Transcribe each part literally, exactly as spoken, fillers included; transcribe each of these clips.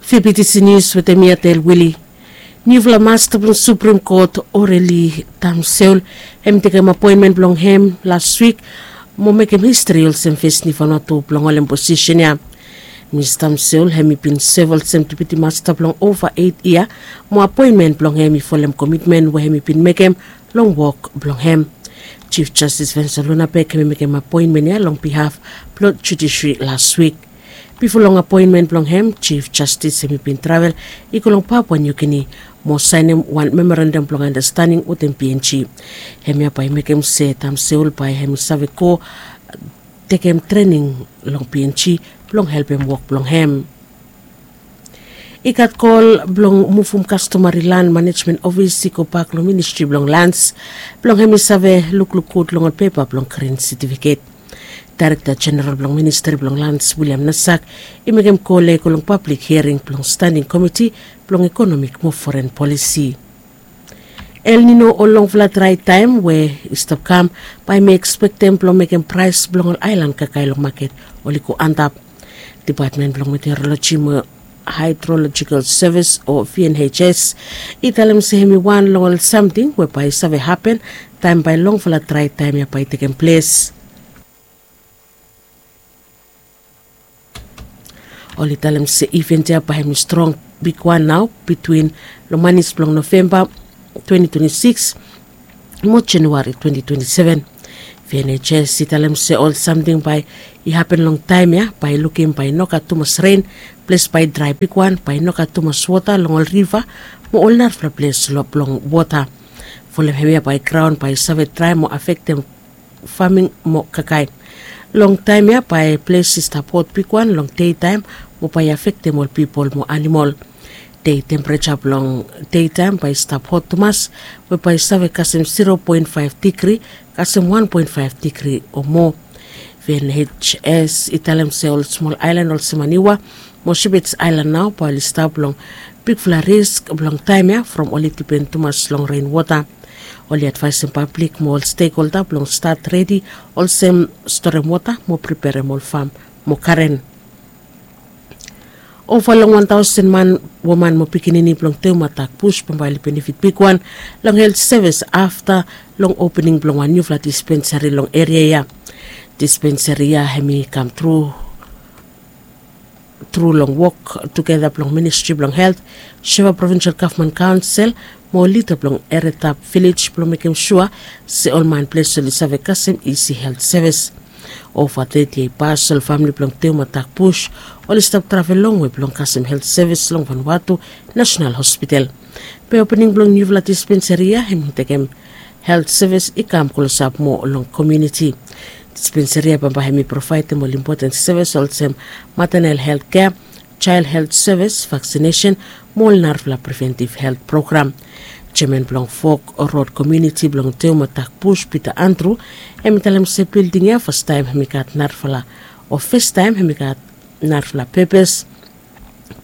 Fibitisi nius wetem mi, Atel Wili. Niufala masta blong Suprem Kot, Oreli Tamseul, hem i tekem apoenmen blong hem las wik mo mekem histri olsem fes Niu Vanuatu blong holem posisen ya. Mis Tamseul hem i bin sev olsem depiti masta blong ova eit yia, mo apoenmen blong hem i folem komitmen we hem i bin mekem long wok blong hem. Jif Jastis Vensa Lunabek hem i mekem apoenmen ya long bihaf blong judisri las wik. Bifo long apoenmen blong hem, Jif Jastis hem i bin travel i go long Papua Niu Gini mo saenem wan memorandam blong andastaning wetem B N G. Hemia bae i mekem se Tamseul bae hem i save go tekem trening long B N G blong helpem wok blong hem. I gat kol blong muvum kastomari lan manejmen ofis i gobak long Ministri blong Lans blong hem i save lukluk gud long ol pepa blong grin setifiket. Daerekta Jeneral blong Ministri blong Lans, William Nasak, i mekem kol ya i go long pablik hiering blong Standing Komiti blong Ekonomik mo Foren Polisi. El Nino o longfala drae taem we i stap kam bae mi ekspektem blong mekem praes blong ol aelan kakae long maket oli go antap. Depatmen blong Meteoroloji mo Haedrolojikal Sevis o V N H S i talem se hem i wan long ol samting we bae i save hapen taem bae longfala drae taem ya bae i tekem ples. Oli talem se iven ya bae hem i strong bigwan nao bitwin long manis blong Novemba twenti twenti sikis mo Januari twenti twenti seven. V N H S i talem se ol samting bae i hapen long taem ya bae i lukim bae i no gat tumas ren, ples bae i drae bigwan, bae i no gat tumas wota long ol riva mo ol narafala ples blong wota. Folem hemia bae graon bae i save drae mo afektem faming mo kakae. Long taem ya bae ples i stap hot bigwan long dei taem mo bae i afektem ol pipol mo anamol. Dei tempereja blong dei taem bae i stap hot tumas we bae i save kasem zero point five digri kasem one point five digri o moa. V N H S i talem se ol smol aelan olsem Maniwa mo Shepherd's Island nao bae oli stap long bigfala risk blong taem ya from oli dipen tumas long renwota. Oli advaesem pablik mo ol stekholda blong stat redi olsem storem wota mo preperem ol fam mo garen. Ova long wan taosen man, woman mo pikinini blong Teuma Dak Bus bambae oli benefit bigwan long helt sevis afta long opening blong wan niufala dispensari long eria ya. Dispensari ya hem i kam tru tru long wok tugeta blong Ministri blong Helt, Suva Provinsel Gavman Kaonsel mo lida blong Eredap Vilej blong mekem sua se ol man ples oli save kasem isi helt sevis. Ova teti yia i pas ol famili blong Teuma Dak Bus oli stap travel longwe blong kasem helt sevis long Vanuatu Nasenal Hospital. Be opening blong niufala dispensari ya hem i tekem helt sevis i kam klosap moa long komuniti. Dispensari ya bambae hem i provaedem ol impoten sevis olsem matenel helt kea, jael helt sevis, vaksinesen mo ol narafala preventiv helt program. Jeaman blong Fok Rod Komuniti blong Teuma Dak Bus, Pita Andru, hem i talem se bilding ya fastaem hem i gat narafala o fastaem hem i gat narafala pepes.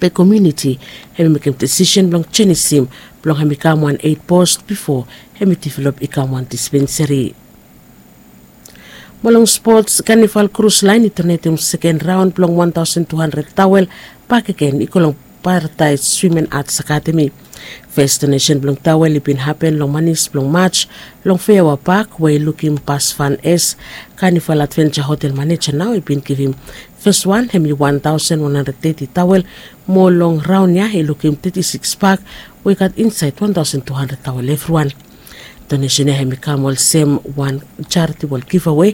Be komuniti hem i mekem desisen blong jenisim blong hem i kam wan eit pos bifo hem i develop i kam wan dispensari. Mo long spots, Kanival Krus Laen i donetem seken raon blong wan taosen tu handred taol bakegen i go long Paradaes Swim en Ats Akademi. Fes donesen blong taol i bin hapen long manis blong Maj long Feaoa Pak we i lukim Pas Van Es, Kanival Advenja hotel maneja nao, i bin givim fes wan hem i wan taosen wan handred teti taol mo long raon ya i lukim teti sikis pak we i gat insaed wan taosen tu handred taol evriwan. Donesen ya hem i kam olsem wan jaritibol givawe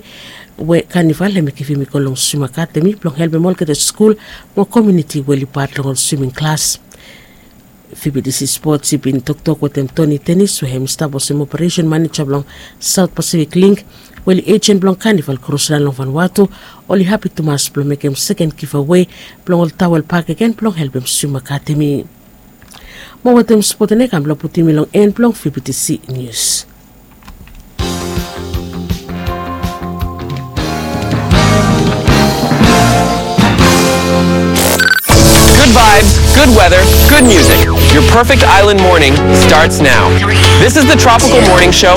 we Kanival hem i givim i go long Swim Akademi blong helpem olgeta skul mo komuniti we oli pat long ol swiming klas. Fibidisi Spots i bin toktok wetem Toni Tenis we hem i stap olsem operesen maneja blong Saot Pasifik Link we oli ejen blong Kanival Krus Laen long Vanuatu, oli hapi tumas blong mekem seken givawe blong ol taol bakegen blong helpem Swim Akademi. Mo wetem spot ya nao i kam blong putum mi long en blong Fibidisi Nius. Good vibes, good weather, good music. Your perfect island morning starts now. This is the Tropical Morning Show